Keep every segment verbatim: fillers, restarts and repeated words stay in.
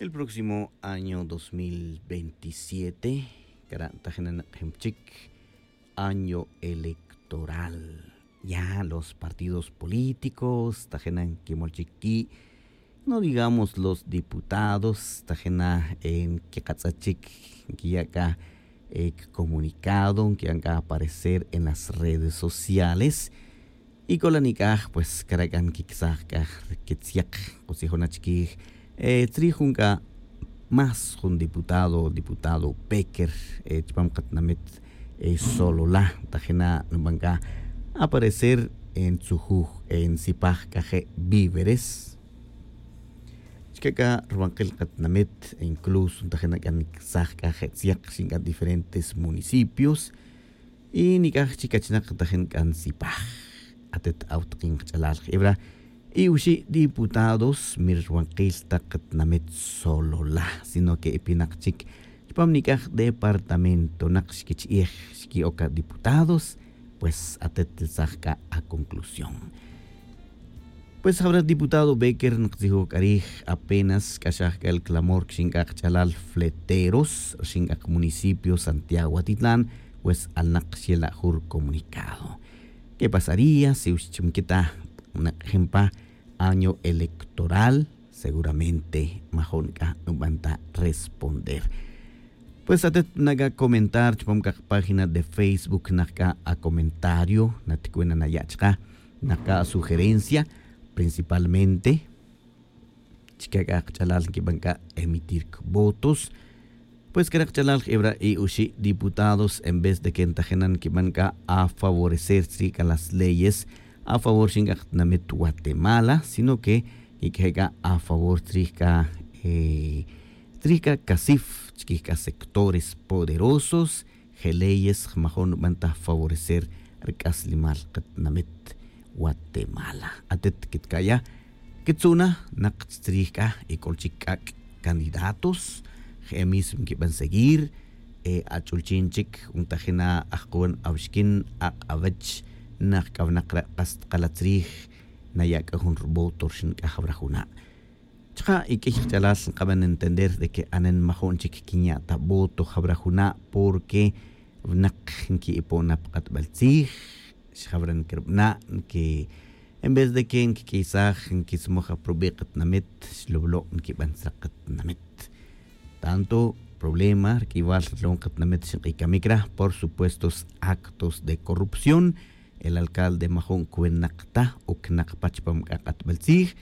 El próximo año dos mil veintisiete, cara' tajina nak'ejin pa chic año electoral. Ya los partidos políticos tajina nquimol chic qui', no digamos los diputados tajina nquiqatz'a chic, nquiya' c'a comunicado, nquiya' c'a aparecer en las redes sociales. Y c'o la nic'aj pues cara' c'a nquicsaj c'a quitzyaq, k'o tzijona chiquij tzrij jun c'a más jun diputado, diputado Becker, chupam katinamit Solola, tajina nuban c'a aparecer ntzujuj, ntzipaj c'a je' víveres. Chica c'a rubankil katinamit, incluso tajina c'a nquicsaj c'a je' tzyak rxin c'a diferentes municipios. Y nic'aj chic achinak tajin c'a ntzipaj. Atet awtakin kach'alal jebra, y oxi' diputados mi rubankil ta katinamit Solola, sino que epinak chic chupam nic'aj departamentonak xquichi'ej, xqui'oc a diputados. Pues atet tzaj c'a aconclusión. Pues jabra diputado Becker noktzijoj c'a rij, apenas xc'axaj c'a el clamor rxin c'a kach'alal Fleteros, rxin c'a kamunicipio Santiago Atitlán. Pues alnak xyela' jun rucomunicado. ¿Qué pasaría si oxi' chi nquitaj nak'ejin pa año electoral? Seguramente majo'n c'a nuban ta responder. Pues atet na c'a comentar chupam c'a kapágina de Facebook, nak c'a acomentario, naticuena naya' chaka, nak c'a asugerencia principalmente. Chica c'a kach'alal nquiban c'a emitir votos. Pues cara' kach'alal jebra, y oxi' diputados en vez de que ntajina nquiban c'a afavorecer tzrij c'a las leyes a favor rxin c'a katinamit Guatemala, sino que nquiq'ueje' c'a a favor tzrij c'a tzrij c'a casif chiquij c'a sectores poderosos. Je' leyes jmajon nuban ta favorecer rc'aslemal katinamit Guatemala. Atet quitca'ya, quitzu'na nak tzrij c'a y c'ol chic c'ac' candidatos. Je' mismo nquiban seguir. Ach'ulchin chic jun tajina ajkuwan awixquin, ak' awech, nak c'awnak re' kas tkala tzrij, naya' c'a jun ruvoto rxin c'a jawra juna'. Chaka' y q'uiy kach'alal nkaban entender de que anen majo'n chic quinya' ta voto jawra juna', porque winak nqui'ipon na pa k'atbal tzij. Xjawra nquirabana' nqui, en vez de que nquiq'uiysaj nquismoj aprobe' katinamit, xlowlo' nquiban tzra katinamit. Tanto problema rq'uiywal rlon katinamit xink'uy camic ra, por supuesto actos de corrupción. El alcalde majo'n cwinak ta o cnak pa chupam c'a k'atbal tzij.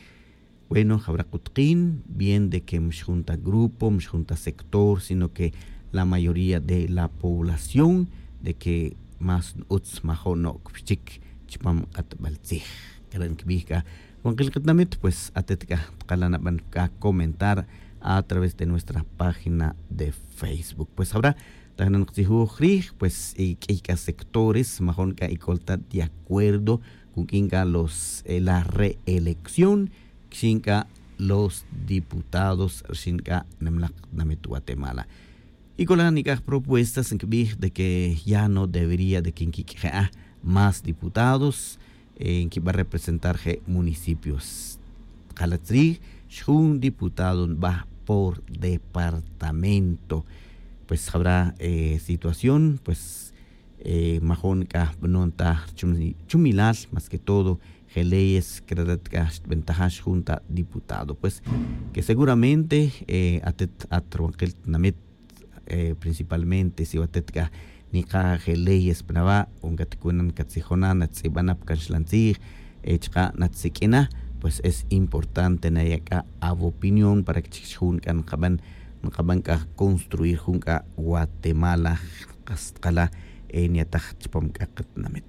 Bueno, jawra kutkin bien de que mxjun ta grupo, mxjun ta sector, sino que la mayoría de la población de que más n-utz majo'n no'c pichic chupam k'atbal tzij. Cara' nkibij c'a wankil katinamit, pues atet c'a tkala' naban c'a comentar a través de nuestra página de Facebook. Pues jawra tajin noktzijoj rij, pues y q'uiy c'a sectores majo'n c'a y c'ol ta de acuerdo con q'uin c'a los la reelección, rxin c'a los diputados rxin c'a nimlak tinamit Guatemala. Y c'ola nic'aj propuestas nkibij de que ya no debería de que nquiq'ueje' más diputados, nquiba representar je' municipios. Tkala' tzrij, xjun diputado nba por departamento. Pues jawra situación pues majo'n c'a banon ta chumilal, más que todo je' leyes credad c'a xtbentaja xjun ta diputado, pues que seguramente atet at ruwankil tinamit, principalmente si watet c'a nika je' leyes pa nawa' o ncaticunan catzijona, nattz'ibana pa canxlan tzij, chaka' natsiq'uina, pues es importante naya' c'a awopinión para que chic xjun c'a nkaban nkaban c'a construir jun c'a Guatemala, kas tkala' nyataj chupam c'a katinamit.